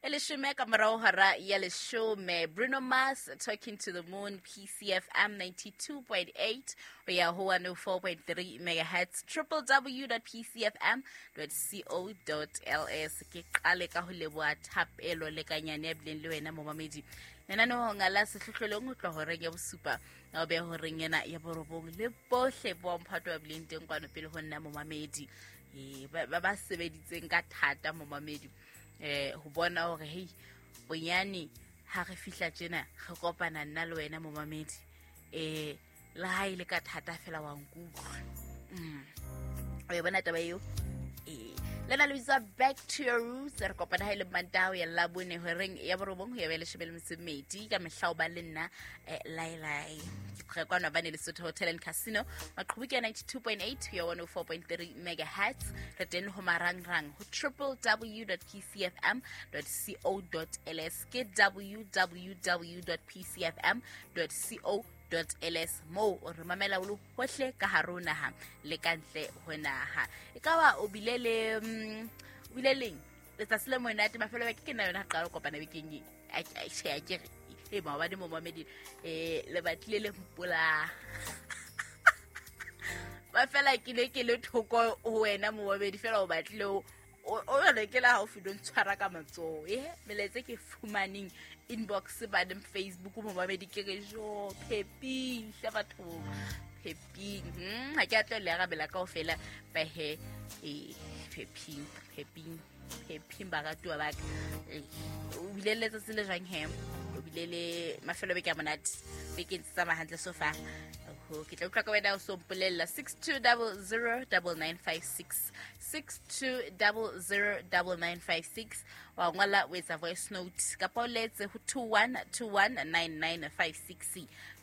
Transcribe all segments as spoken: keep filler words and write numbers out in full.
E leshome ka morao hora ya leshome. Bruno Mars, Talking to the Moon, P C F M ninety-two point eight ho ya ho one oh four point three megahertz, w w w dot p c f m dot co dot l s. Ke qale ka ho leboha thapelo le kanyane ya bileng le wena momamedi. Lenaneong la sehlohlolong ho tloha horeng ya bosupa o be horeng ena ya borobong le bohle bo mphato ba bileng teng kwano pele ho nna momamedi. Eh ba ba sebeditseng ka thata momamedi. Eh ho bona hore hey bonyane ha re fihla tjena re kopana nna le wena momamedi. Eh le ha ile ka thata fela wa nkutlwa. Mm. O e bona taba eo? Eh lena le bitsa Back to Your Roots. Re kopana ha ile Mantaha ya Labone horeng ya borobong ho ya bele shebele metsi ka mehla o ba le nna Lailai. Ke kwana ba ne Lesotho Hotel and Casino maqhubu ke ninety-two point eight ho ya one oh four point three megahertz. Re teng ho marangrang ho w w w dot p c f m dot co dot l s ke w w w dot p c f m dot co dot l s mo o re mamela o le hohle ka hare ho naha le ka ntle ho naha. E ka ba o bile le o bile leng letsatsi le monate mafelo a beke ke nna yona qala kopana bekeng e a a ke re e maobane mo mamedi eh le batlile le mpola ba fela ke le ke le thoko ho wena momamedi fela o batlile o o re ke la haufi don't tshwara ka matsoho eh meletse ke fumaneng inbox ba dem Facebook momamedi ke re jo pheping hle batho pheping hm ha ke a tlo le arabela kaofela ba he eh pheping pheping pheping ba ratuwa ba ka o bile le letsatsi le jwang he o bile le mafelo beke a monate beke ntse tsamaya hantle so far. Ho ke tla utlwa ka wena o so mpolella six two zero zero nine nine five six six two zero zero nine nine five six wa ngola o etsa voice note kapa o letse ho two one two one nine nine five six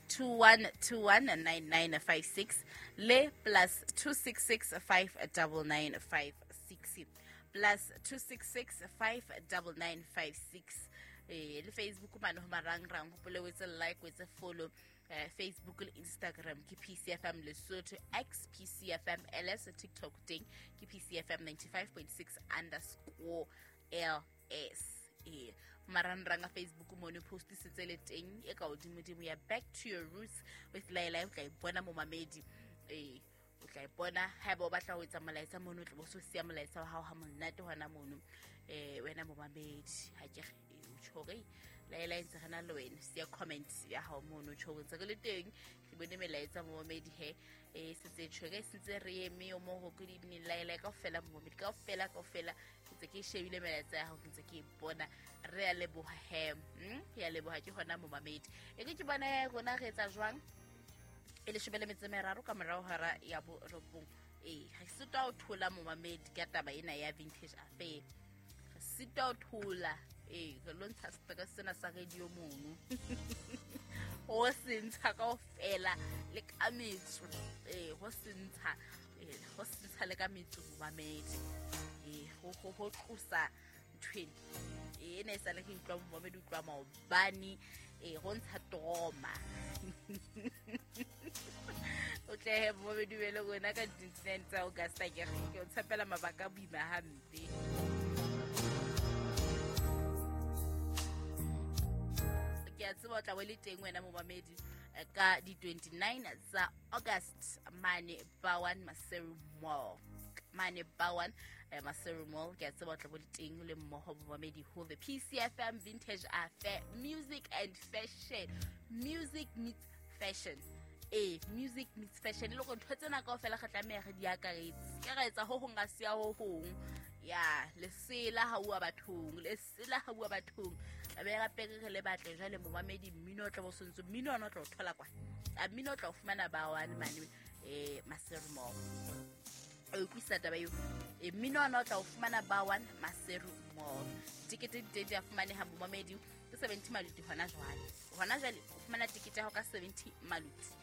two one two one nine nine five six le plus two six six five nine nine five six plus two six six five nine nine five six. Eh le Facebook mane ho marangrang hopole o etse like o etse follow. Uh, Facebook le Instagram ke P C F M Lesotho, X P C F M L S, TikTok teng ke P C F M ninety-five point six underscore L S. Eh marangrang a Facebook mono post setse le teng e ka hodimodimo ya Back to Your Roots with Laila. O tla e bona momamedi. Eh o tla e bona haeba o batla ho etsa molaetsa mono o tla bo so siya molaetsa wa hao ha monate hona mono. Eh wena momamedi ha ke o tjhore Laila ntse re na le wena siya comment ya hao mono tjho ntse re le teng ke bone melaetsa momamedi he e setse tjhore sentse re eme o mo ho good evening Laila kaofela momamedi kaofela kaofela ntse ke shebile melaetsa ya hao ntse ke bona re a leboha he hm ya leboha ke hona momamedi e ke ke bona rona re etsa jwang e leshome le metso e meraro ka morao hora ya borobong. Eh re sitwa ho thola momamedi ka taba ena ya vintage affair re sitwa ho thola. Eh re lo ntsha stress sena sa radio mono ho se ntsha kaofela le ka metso eh ho se ntsha eh ho se ntsha le ka metso momamedi eh ho ho ho tlosa nthweni eh ene sa le ke utlwa momamedi utlwa maobane eh ho ntsha trauma o tle he momamedi wele rona ka twenty-nine tsa August ke ke o tshepela mabaka boima hampe. Ke a tseba o tla bo le teng wena momamedi ka di twenty-nine tsa August mane Bawan Maseru Mall mane Bawan Maseru Mall. Ke a tseba o tla bo le teng le mmoho momamedi ho the P C F M Vintage Affair Music and Fashion. Music meets fashion. Eh music meets fashion le go ntho tsena kaofela re tlameha re di akaretse ke ra etsa ho hong ga se ya ho hong ya lesela ha ua bathong lesela ha ua bathong be ra pere re le batle jwale momamedi mmino o tla bo sontso mmino ona o tla o thola kwa a mmino o tla o fumana ba one mane eh Maseru Mall o utlwisa taba eo e mmino ona o tla o fumana ba one Maseru Mall. Tikete di teng di a fumaneha momamedi ke seventy maluti hona jwale hona jwale o fumana tikete ya hao ka seventy maluti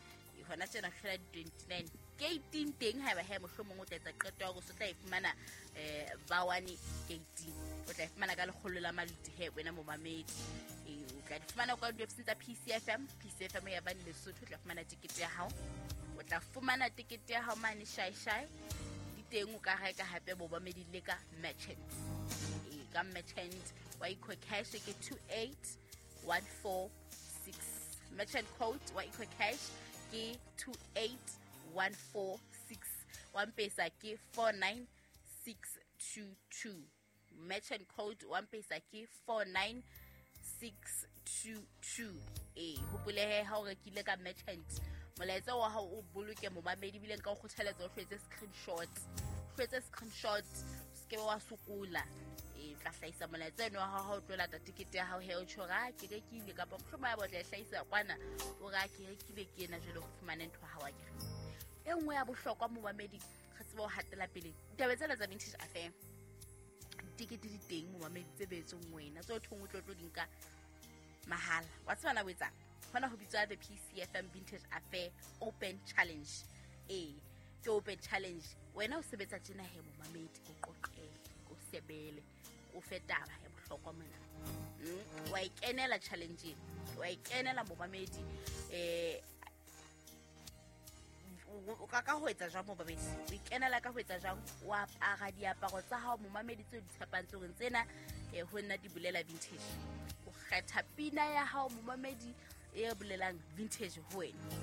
hona tjena fela twenty-nine gate teng haeba he mohlomong o tla etsa qeto ya hore o tla e fumana eh ba one gate o tla e fumana ka lekgolo la maluti he wena momamedi eh o tla di fumana kwa di-website tsa P C F M P C F M ya bane Lesotho o tla fumana tikete ya hao o tla fumana tikete ya hao mane shai shai di teng o ka reka hape momamedi le ka merchant eh Ka merchant wa EcoCash ke two eight one four six. Merchant code wa EcoCash ke two eight one four six. Wa M-Pesa ke four nine six two two. Merchant code wa M-Pesa ke four nine six two two. Eh, hopole he ha o rekile ka merchant, molaetsa wa hao o boloke momamedi, ebile nka o kgothaletsa o hlwetse screenshot. Hlwetse screenshot, o se ke wa sokola. E tla hlahisa molaetsa eno wa hao ha o tlo lata tikete ya hao he o tjho ra ke rekile, kapa mohlomong ya botla e hlahisa kwana o ra ke rekile ke ena jwale ho fumana ntho ha wa ke. E nngwe ya bohlokwa momamedi, re tsebe ho hatela pele ditaba tsena tsa Vintage Affair. Tikete di teng momamedi tse beetsweng wena, tse o thong o tlo tlo di nka mahala. Wa tseba na o etsang? Hona ho bitswa the P C F M Vintage Affair Open Challenge. Eh, ke Open Challenge. Wena o sebetsa tjena he momamedi, o qoqele, o sebele, o fe taba ya bohlokwa mona. Mm, wa ikenela challenge, wa ikenela momamedi. Eh, o ka ka ho etsa jwang momamedi? O ikenela ka ho etsa jwang? O apara diaparo tsa hao momamedi tseo di tshepang tsore tsena eh ho nna di bolela vintage. O kgetha pina ya hao momamedi e bolelang vintage ho wena.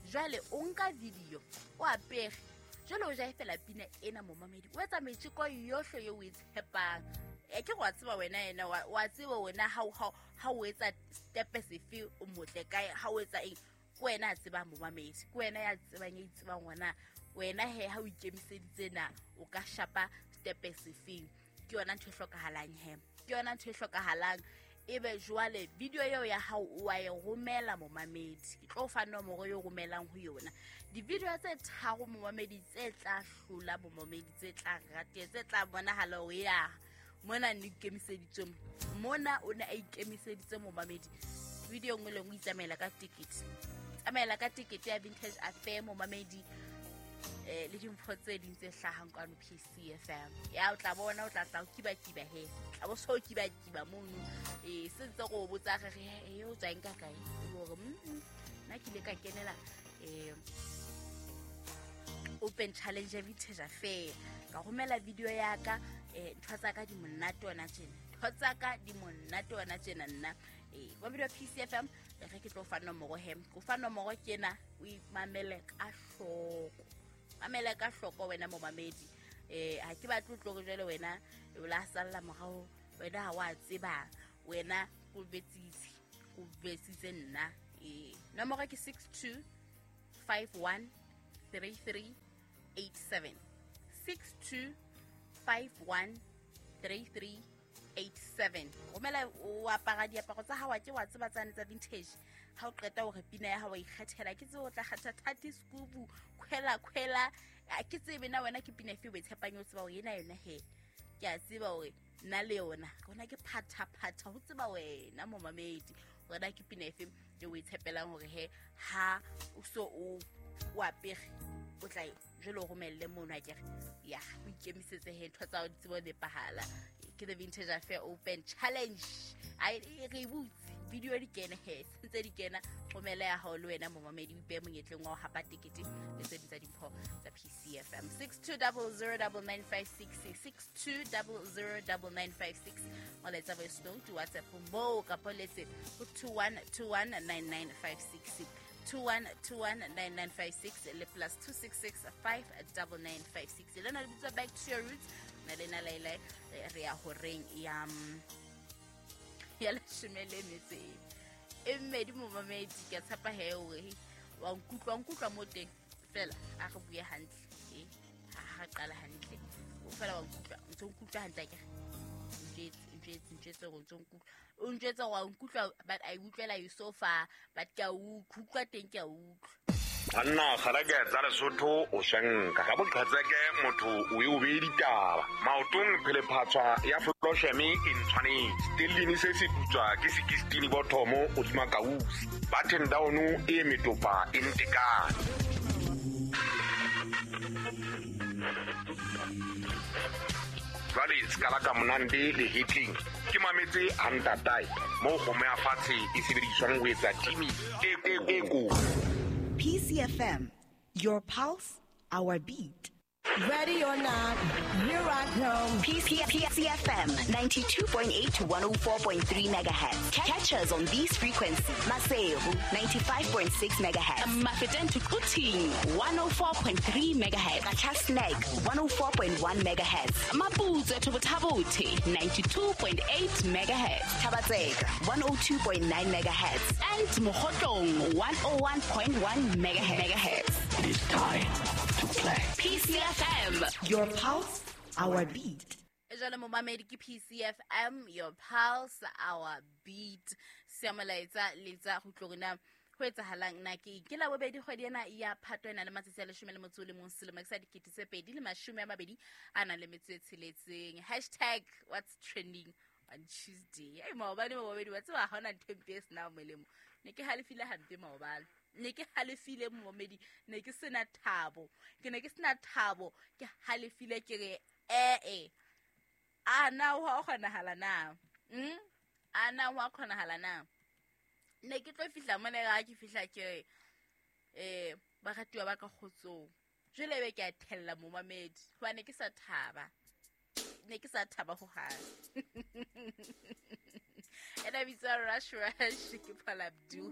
Jwale o nka video o apere, jwale o ja fela pina ena momamedi, o etsa metjeko yohle eo o e tshepang. E ke go tseba wena yena wa tseba wena ha ha ha o etsa step sefe o motle kae, ha o etsa eng, ke wena a tsebang momamedi, ke wena ya tsebang ya itsebang wena. Wena he ha o ikemiseditse na o ka shapa step sefeng. Ke yona ntho e hlokahalang he, ke yona ntho e hlokahalang. Ebe jwale video eo ya hao o a e romela momamedi, ke tlo fa nomoro eo romelang ho yona. Di-video tse tharo momamedi tse tla hlola momamedi, tse tla rate, tse tla bonahala ho ya mona ne ikemiseditse mona, o ne a ikemiseditse momamedi. Video nngwe le nngwe itsamaela ka ticket, tsamaela ka ticket ya Vintage Affair momamedi, eh le dimpho tse ding tse hlahang kwano P C F M. Ya o tla bona, o tla tla o kiba-kiba he, tla bo so kiba-kiba mono. Eh se ntse go botsa re re e o tswa eng ka kae, hore mm nna ke ile ka kenela eh Open Challenge ya Vintage Affair, ka romela video ya ka. Eh ntho tsa ka di monate ona tjena, ntho tsa ka di monate ona tjena nna. Eh wa video P C F M re ke tlo fa nomoro he, go fa nomoro ke ena, o imamele ka hloko, mamela ka hloko wena momamedi. Eh ha ke batle tlo re jwale wena o la salla morao, wena ha wa tseba, wena o betsitse, o betsitse nna. Eh nomoro ke six two five one three three eight seven, six two five one three three eight seven. Romela o apara diaparo tsa hao ke wa tseba tsane tsa vintage. Ha o qeta hore pina ya hao wa ikgethela, ke tsebe o tla kgetha thati skubu khwela khwela, ke tsebe na wena ke pina efe o e tshepang, o tseba hore ena yona he ke a tseba hore nna le yona rona ke phatha phatha, ho tseba wena momamedi hore na ke pina efe e o e tshepelang hore he ha o so o o apere o tla jwale o romelle mono akere. Ya o ikemisetse he ntho tsa hao di tsebe ho nepahala. Ke the Vintage Affair Open Challenge. Ai re butse video di kene he, ntse di kena, romela ya hao le wena momamedi, o ipehe monyetleng wa ho hapa tekete le tse ding tsa dimpho tsa P C F M. six two zero zero nine nine five six, six two zero zero nine nine five six. Molaetsa voice note WhatsApp moo kapa letse ho two one two one nine nine five six, two one two one nine nine five six le plus two six six five nine nine five six. Le na le bitswa Back to Your Roots na le na laila re ya horeng ya ya leshome le metso e mmedi momamedi. Ke tshepa he hore wa nkutlwa, nkutlwa mo teng fela a re bue hantle, eh ha re qala hantle o fela wa nkutlwa, ntse nkutlwa hantle akere njetse njetse njetse go ntse nkutlwa, o njetse wa nkutlwa, but I utlwela you so far, but ke a utlwa teng, ke a utlwa. Banna kgalake tsa Lesotho o shanka ka boqhetseke motho o e o bee ditaba maotong phelephatswa ya flosheme e ntshwanetse stellini se se putswa ke sixteen bothomo hodima kausi button down e metopa e ntekane. Jwale skala ka monande le hitling ke mametse antatae mo kgomo ya fatshe e sebediswang ho etsa timi e e ko. P C F M, your pulse, our beat. Ready or not, here I come. P C F M ninety-two point eight to one oh four point three megahertz. Catch us on these frequencies. Maseru ninety-five point six megahertz. Mafeteng to Quthing one oh four point three megahertz. Qacha's Nek one oh four point one megahertz. Maputswe to Botha-Bothe ninety-two point eight megahertz. Thaba-Tseka one oh two point nine megahertz. And Mokhotlong one oh one point one megahertz. It is time to play. P C F M. Your pulse, our beat. Jwale momamedi ke P C F M, your pulse, our beat. Siya molaetsa letsa go tlo rena ho etsahalang na ke ke la bobedi kgwedi ena ya Phato ena le matsatsi a leshome le motso o le mong selemo sa dikete tse pedi le mashome a mabedi a nang le metso e tsheletseng. Hashtag what's trending on Tuesday. Ei maobane momamedi wa tseba ha hona ntho e mpe e senang molemo. Ne ke halefile hampe maobane. Ne ke halefile momamedi, ne ke sena thabo. Ke ne ke sena thabo, ke halefile ke re eh eh. A na ho a kgonahala na? Mm? A na ho a kgonahala na? Ne ke tlo fihla mona ga ke fihla ke re eh baratuwa ba ka kgotsong. Jwale be ke a thella momamedi hobane ke sa thaba. Ne ke sa thaba ho hang. Ena bitsa Rush Rush ke Paul Abdul.